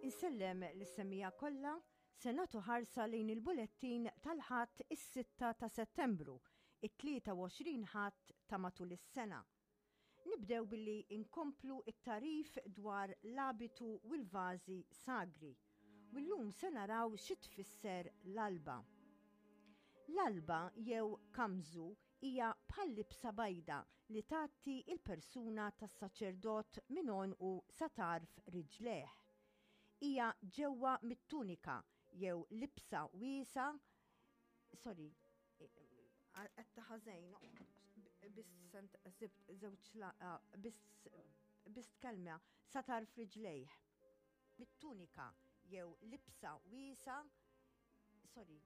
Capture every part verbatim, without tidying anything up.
Insellem lis-semmiegħa kollha, se nagħtu ħarsa lejn il-bulettin tal-Ħadd is-sitta ta' Settembru, it-tlieta u għoxrin Ħadd ta' matul is-sena. Nibdew billi inkomplu it-tarif dwar l-abitu u l-vażi sagri. U llum se naraw xi tfisser l-alba. L-alba jew kamżu hija bħal libsa bajda li tgħatti il-persuna tas-saċerdot minn għonqu sa tarf riġlejh. Hija ġewwa mit-tunika jew libsa wiesa, sorry, qed ħażejn, biss żewġ biss biss kelma sa tarf riġlejh. Mit-tunika jew libsa wiesa, sorry,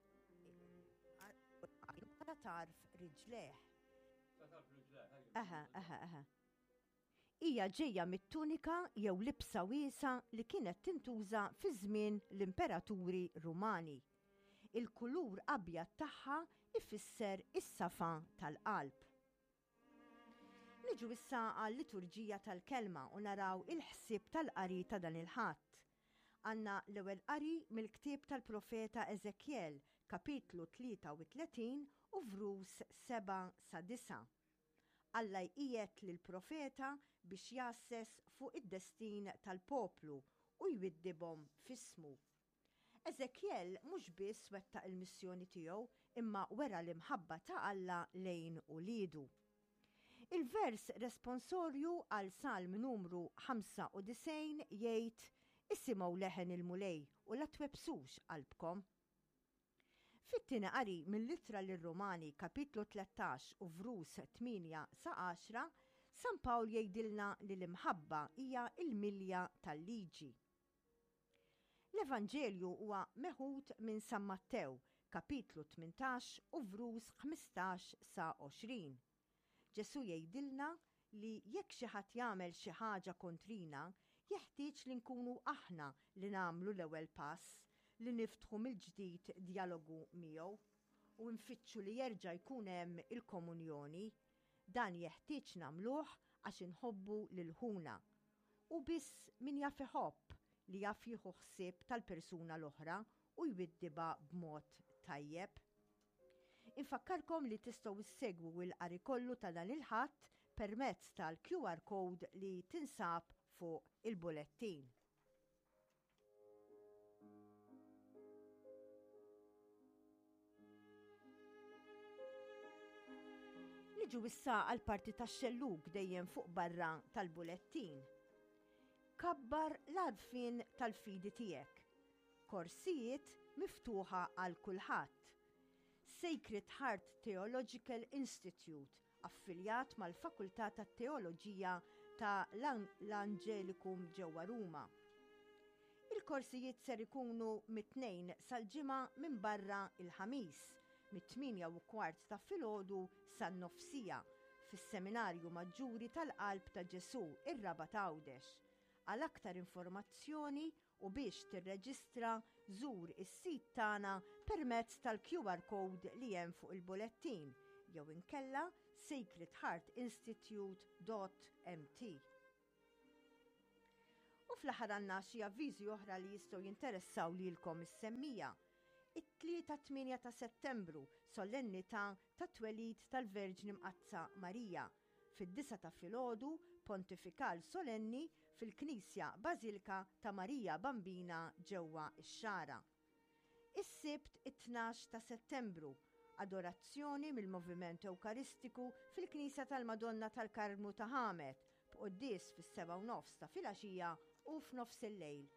sa tarf riġlejh. Sa tarf riġlejh. Aha, aha, aha. Hija ġejja mit-tunika jew libsa wiesa li kienet tintuża fi żmien l-imperaturi Rumani. Il-kulur abjad tagħha ifisser is-safa tal-qalb. Niġu issa għal-liturġija tal-kelma u naraw il-ħsieb tal-qari ta' dan il-Ħadd. Għandna l-ewwel qari mill-ktieb tal-profeta Eżekjel, kapitlu tlieta u tletin u vrus seba' sa disa'. Alla jqiegħed lill-profeta biex jasses fuq id-destin tal-poplu u jwiddibhom f'ismu. Eżekjel mhux biss wettaq il-missjoni tiegħu imma wera l-imħabba ta' Alla lejn uliedu. Il-vers responsorju għal Salm numru ħamsa u disgħin jgħid: Isimgħu leħen il-Mulej u la twebsux qalbkom. Fit-tieni qari mill-Ittra lir-Rumani kapitlu tlettax u vrus tmienja sa għaxra, San Pawl jgħidilna li l-imħabba hija l-milja tal-liġi. L-Evanġelju huwa meħud minn San Mattew, kapitlu tmintax u vrus ħmistax sa għoxrin. Ġesu jgħidilna li jekk xi ħadd jagħmel xi ħaġa kontrina, jeħtieġ li nkunu aħna li nagħmlu l-ewwel pass, li niftħu mill-ġdid dialogu miegħu u nfittxu li jerġa' jkun hemm il-komunjoni. Dan jeħtieġ nagħmluh għax inħobbu lil ħuna. U biss min jaf iħobb li jaf jieħu ħsieb tal-persuna l-oħra u jwiddiba b'mod tajjeb. Infakkarkom li tistgħu issegwu l-qari kollu ta' dan il-Ħadd permezz tal-Q R code li tinsab fuq il-bulettin. Niġu issa għal parti tax-xellug dejjem fuq barra tal-bulettin. Kabbar l-għarfien tal-fidi tiegħek. Korsijiet miftuħa għal kulħadd. Sacred Heart Theological Institute, affiljat mal-Fakultà tat-Teoloġija ta' l-Angelicum ġewwa Ruma. Il-korsijiet ser ikunu mit-tnejn sal-ġimgħa minn barra il-ħamis, mit-tmienja u kwart ta' filgħodu san-nofsija fis-Seminarju Maġġuri tal-Qalb ta' Ġesu, ir-Rabat Għawdex. Għal aktar informazzjoni u biex tirreġistra, żur is-sit tagħna permezz tal-Q R code li hemm fuq il-bulettin jew inkella sacred heart institute dot m t. U fl-aħħar għandna xi avviżi oħra li jistgħu jinteressaw lilkom is-semmija. It-tlieta tmienja ta' Settembru, solennità ta' twelid tal-Verġni Mqaddsa Marija. Fid-disa ta' filgħodu, pontifikal solenni fil-Knisja Bażilika ta' Marija Bambina ġewwa x-Xagħra. Is-Sibt it-tnax ta' Settembru, adorazzjoni mill-Moviment Ewkaristiku fil-Knisja tal-Madonna tal-Karmnu ta' Ħamet, b'quddies fis-seba' u nofs ta' filgħaxija u f'nofs il-lejl.